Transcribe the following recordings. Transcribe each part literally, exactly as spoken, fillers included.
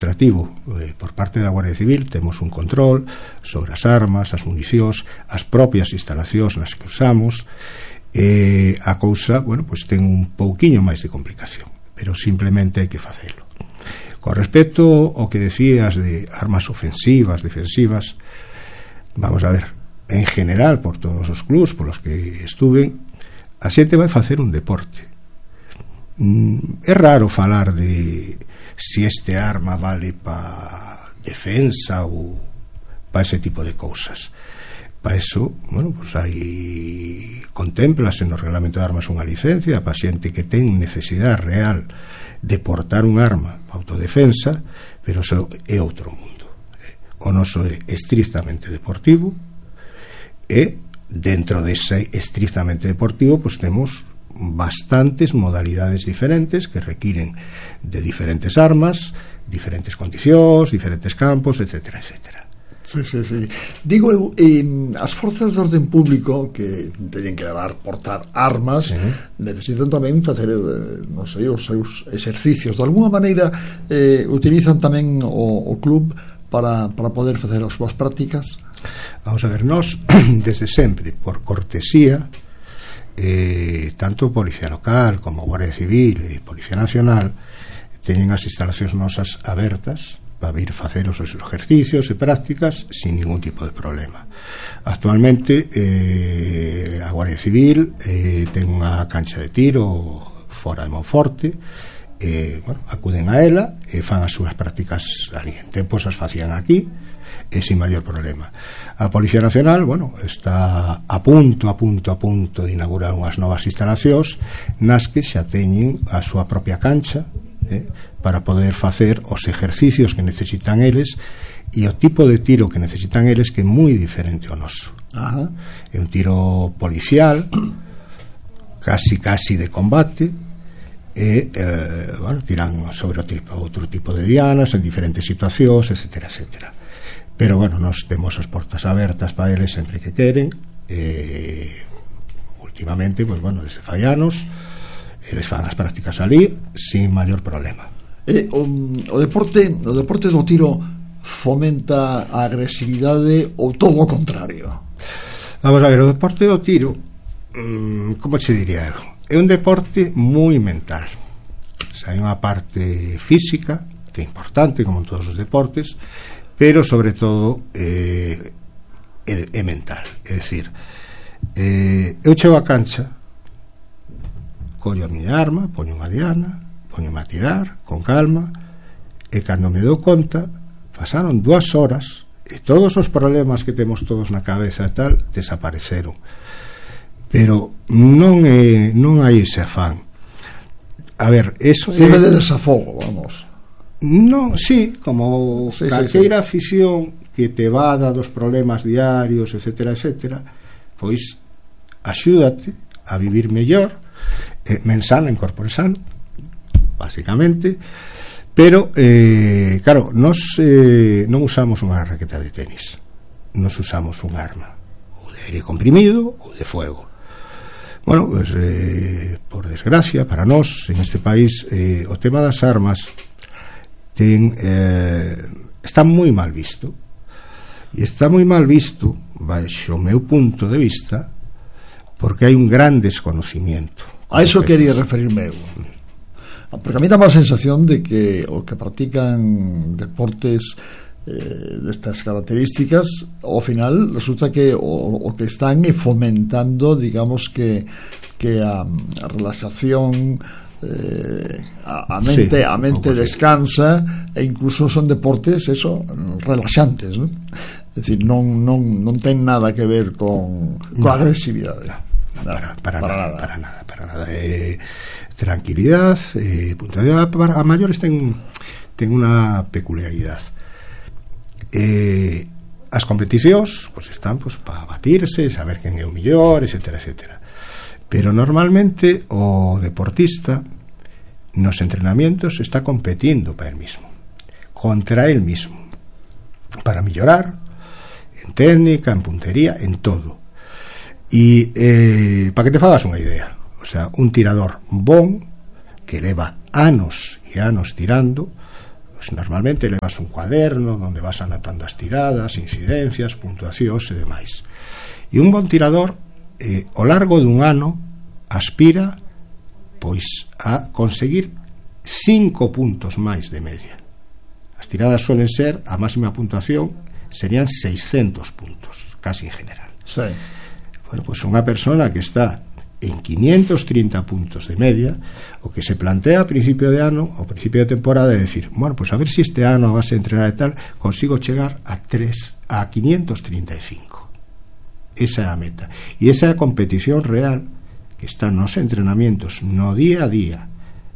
administrativo eh, por parte da Guardia Civil. Temos un control sobre as armas, as municións, as propias instalacións nas que usamos. Eh, a cousa, bueno, pois ten un pouquiño máis de complicación, pero simplemente hai que facelo. Con respecto ao que decías de armas ofensivas, defensivas, vamos a ver, en general, por todos os clubs polos que estuven, a xente vai facer un deporte. Mm, é raro falar de si este arma vale para defensa ou para ese tipo de cousas. Para eso, bueno, pues hai contemplase no reglamento de armas unha licencia para xente que ten necesidade real de portar un arma para autodefensa, pero eso é outro mundo. O noso é estrictamente deportivo e dentro dese estrictamente deportivo pues temos bastantes modalidades diferentes que requiren de diferentes armas, diferentes condicións, diferentes campos, etcétera, etcétera. Sí, sí, sí. Digo eu, eh, as forzas de orden público que teñen que levar portar armas, sí, necesitan tamén facer, eh, non sei, os seus exercicios. De alguna maneira eh, utilizan tamén o, o club para, para poder facer as súas prácticas. Vamos a ver, nós desde sempre, por cortesía, eh, tanto Policía Local como Guardia Civil e Policía Nacional teñen as instalacións nosas abertas para vir facer os seus exercicios e prácticas sin ningún tipo de problema. Actualmente eh, a Guardia Civil eh, ten unha cancha de tiro fora de Monforte, eh, bueno, acuden a ela e fan as súas prácticas ali. En tempos as facían aquí e sin maior problema. A Policía Nacional, bueno, está a punto, a punto, a punto de inaugurar unhas novas instalacións nas que xa teñen a súa propia cancha eh, para poder facer os exercicios que necesitan eles e o tipo de tiro que necesitan eles, que é moi diferente ao noso. Ajá. É un tiro policial, casi casi de combate, e eh, bueno, tiran sobre outro tipo de dianas en diferentes situacións, etcétera, etcétera. Pero bueno, nos temos as portas abertas para eles sempre que queren. E últimamente, pues bueno, desde fai anos eles fan as prácticas ali sin maior problema. E o, o deporte, o deporte do tiro fomenta a agresividade ou todo o contrario? Vamos a ver, o deporte do tiro, mmm, como se diría eu? É un deporte moi mental. O sea, hai unha parte física que é importante, como en todos os deportes, pero sobre todo eh, é, é mental. É dicir, eh, eu chego a cancha, collo a miña arma, poño unha diana, poño a tirar con calma, e cando me dou conta pasaron dúas horas e todos os problemas que temos todos na cabeza e tal desapareceron. Pero non é, non hai ese afán. A ver, eso se é de desafogo, vamos. Non, sí, como sí, calqueira sí, sí. afición que te vada dos problemas diarios, etcétera, etcétera, pois axúdate a vivir mellor, eh, men sano, en corpore sano, basicamente. Pero eh, claro, nos eh, non usamos unha raqueta de tenis, nos usamos un arma ou de aire comprimido ou de fuego. Bueno, pues eh, por desgracia para nós en este país eh, o tema das armas ten, eh, está moi mal visto, e está moi mal visto baixo o meu punto de vista porque hai un gran desconocimiento. A iso quería referirme eu, porque a mí dá a sensación de que os que practican deportes eh, destas características ao final resulta que o, o que están é fomentando, digamos que que a, a relaxación, eh, a, a mente, sí, a mente descansa, e incluso son deportes eso, relaxantes, ¿no? É dicir, non, non, non ten nada que ver con, con no, agresividade. No, para, para, para, nada, nada. para nada, para nada. Eh, tranquilidad, eh, puntualidad. Para, a maiores ten, ten unha peculiaridade. Eh, as competicións pues, están pues, para batirse, saber quen é o mellor, etcétera, etcétera. Pero normalmente o deportista nos entrenamientos está competindo para el mismo, contra el mismo, para mellorar en técnica, en puntería, en todo. E eh, para que te fagas unha idea, o sea, un tirador bon que leva anos e anos tirando Pues normalmente levas un cuaderno onde vas anotando as tiradas, incidencias, puntuacións e demais. E un bon tirador eh, ao largo dun ano aspira pois a conseguir cinco puntos máis de media. As tiradas suelen ser, a máxima puntuación serían seiscentos puntos, casi en general. Sí. Bueno, pois unha persona que está en quinientos trinta puntos de media, o que se plantea a principio de ano, ao principio de temporada, é decir, bueno, pues a ver si este ano a base de entrenar e tal consigo chegar a tres a quinientos treinta e cinco. Esa é a meta, e esa é a competición real que está nos entrenamientos no día a día,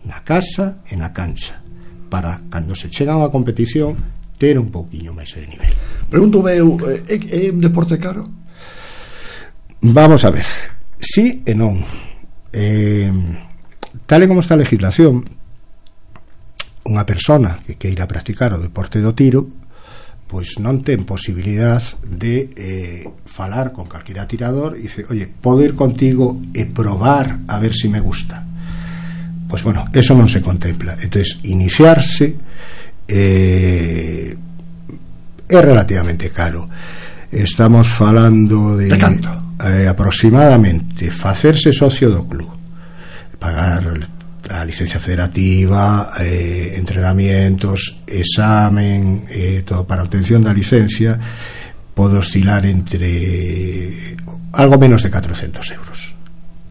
na casa e na cancha, para cando se chega a unha competición ter un pouquiño máis de nivel. Pregunto eu, é, é un deporte caro? Vamos a ver, sí e non. Eh, tal e como está a legislación, unha persona que queira practicar o deporte do tiro pois non ten posibilidad de eh, falar con calquera tirador e dice, oye, podo ir contigo e probar a ver si me gusta. Pois bueno, eso non se contempla. Entonces, iniciarse eh, é relativamente caro. Estamos falando de, de canto? Eh, aproximadamente facerse socio do club, pagar a licencia federativa, eh, entrenamientos, examen, eh, todo para obtención da licencia, pode oscilar entre algo menos de catrocentos euros.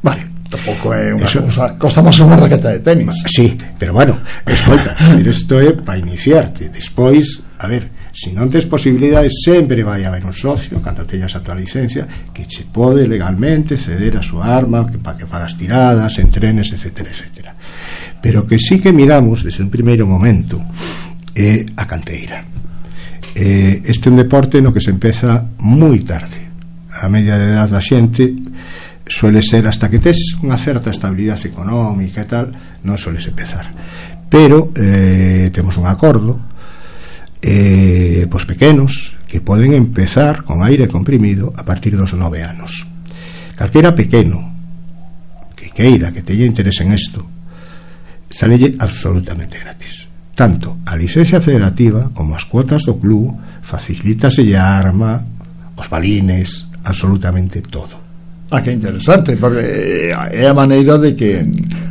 Vale, tampouco é unha Eso, cousa, costa máis unha raqueta de tenis. Sí, pero bueno, escolta, pero isto é para iniciarte. Despois, a ver, se non tes posibilidades, sempre vai haber un socio cando teñas a tua licencia que che pode legalmente ceder a súa arma que para que fagas tiradas, entrenes, etcétera, etcétera. Pero que sí que miramos desde un primeiro momento é a canteira. Eh, este é un deporte no que se empeza moi tarde. A media de edad da xente suele ser hasta que tes unha certa estabilidade económica e tal, non sueles empezar. Pero eh, temos un acordo eh, pois pequenos que poden empezar con aire comprimido a partir dos nove anos. Calquera pequeno que queira, que teña interés en isto, salelle absolutamente gratis. Tanto a licencia federativa como as cuotas do club, facilítaselle a arma, os balines, absolutamente todo. Ah, que interesante, porque é a maneira de que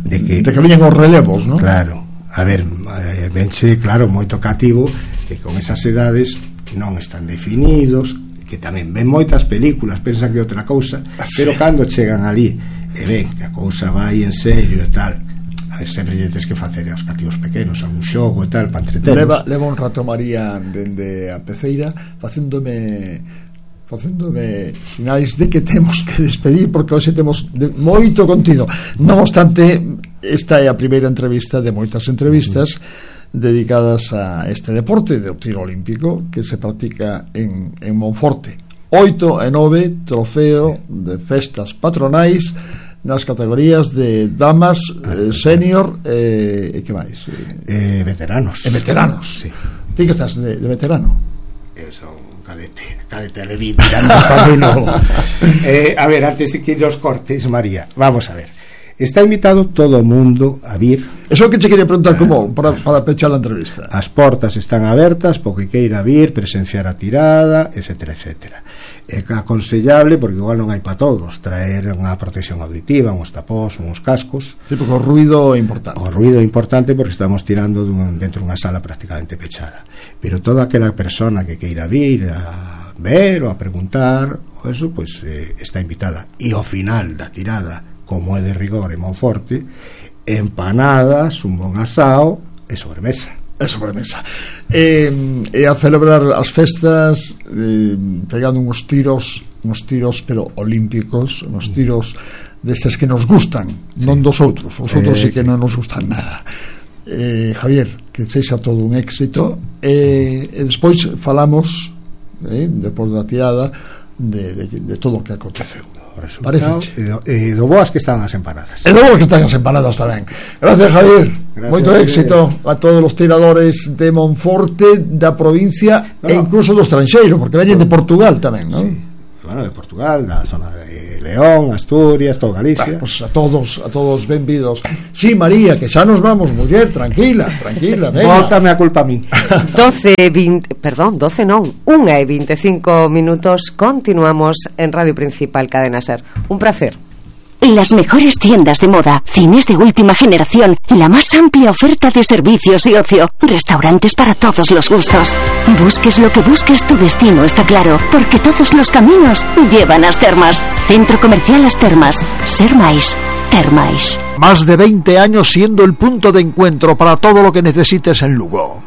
de que, de que viñen os relevos, ¿no? Claro, a ver, eh, venche, claro, moito cativo que con esas edades non están definidos, que tamén ven moitas películas, pensan que é outra cousa, sí. Pero cando chegan ali e ven que a cousa vai en serio e tal, a ver, sempre lle tens que facer aos cativos pequenos a un xogo e tal, para entretelos. Leva, leva un rato María dende a peceira facéndome facéndome sinais de que temos que despedir, porque hoxe temos de moito contido. Non obstante, esta é a primeira entrevista de moitas entrevistas uh-huh. dedicadas a este deporte do tiro olímpico que se practica en, en Monforte. Oito e nove, trofeo de festas patronais nas categorías de damas, eh, senior e eh, que máis? Eh, veteranos. E veteranos. Sí. Ti que estás de, de veterano? Eu son un cadete, cadete de vi mirando para mí novo. eh, a ver, antes de que nos cortes, María, vamos a ver. Está invitado todo o mundo a vir. Eso que che quería preguntar, como para, para pechar a entrevista. As portas están abertas porque queira vir, presenciar a tirada, etcétera, etcétera. É aconsellable, porque igual non hai para todos, traer unha protección auditiva, uns tapós, uns cascos. Sí, porque o ruido é importante. O ruido é importante porque estamos tirando dun, dentro dunha sala prácticamente pechada. Pero toda aquela persona que queira vir a ver ou a preguntar, o eso, pues, eh, está invitada. E ao final da tirada, como é de rigor en Monforte, empanadas, un bon asao e sobremesa. É sobremesa. E, e a celebrar as festas eh, pegando uns tiros, uns tiros pero olímpicos, uns tiros destes que nos gustan, sí. Non dos outros. Os outros eh, sí que non nos gustan nada. Eh, Javier, que sexa todo un éxito. E, e despois falamos, eh, depois da tirada, de, de, de todo o que aconteceu. E do, e do boas que están as empanadas. E do boas que están as empanadas tamén. Gracias, Javier. Gracias, moito éxito a todos os tiradores de Monforte, da provincia, no, e incluso do estranxeiro, porque veñen de Portugal tamén, non? Sí. bueno, de Portugal, da zona de León, Asturias, todo Galicia. Bueno, pues a todos, a todos benvidos. Sí, María, que xa nos vamos, muller, tranquila, tranquila, venga. Bótame a culpa a mí. doce, veinte, perdón, doce non, unha e veinticinco minutos, continuamos en Radio Principal Cadena Ser. Un placer. Las mejores tiendas de moda, cines de última generación, la más amplia oferta de servicios y ocio, restaurantes para todos los gustos. Busques lo que busques, tu destino está claro, porque todos los caminos llevan a As Termas. Centro Comercial As Termas. Ser máis, ter máis. Más de veinte años siendo el punto de encuentro para todo lo que necesites en Lugo.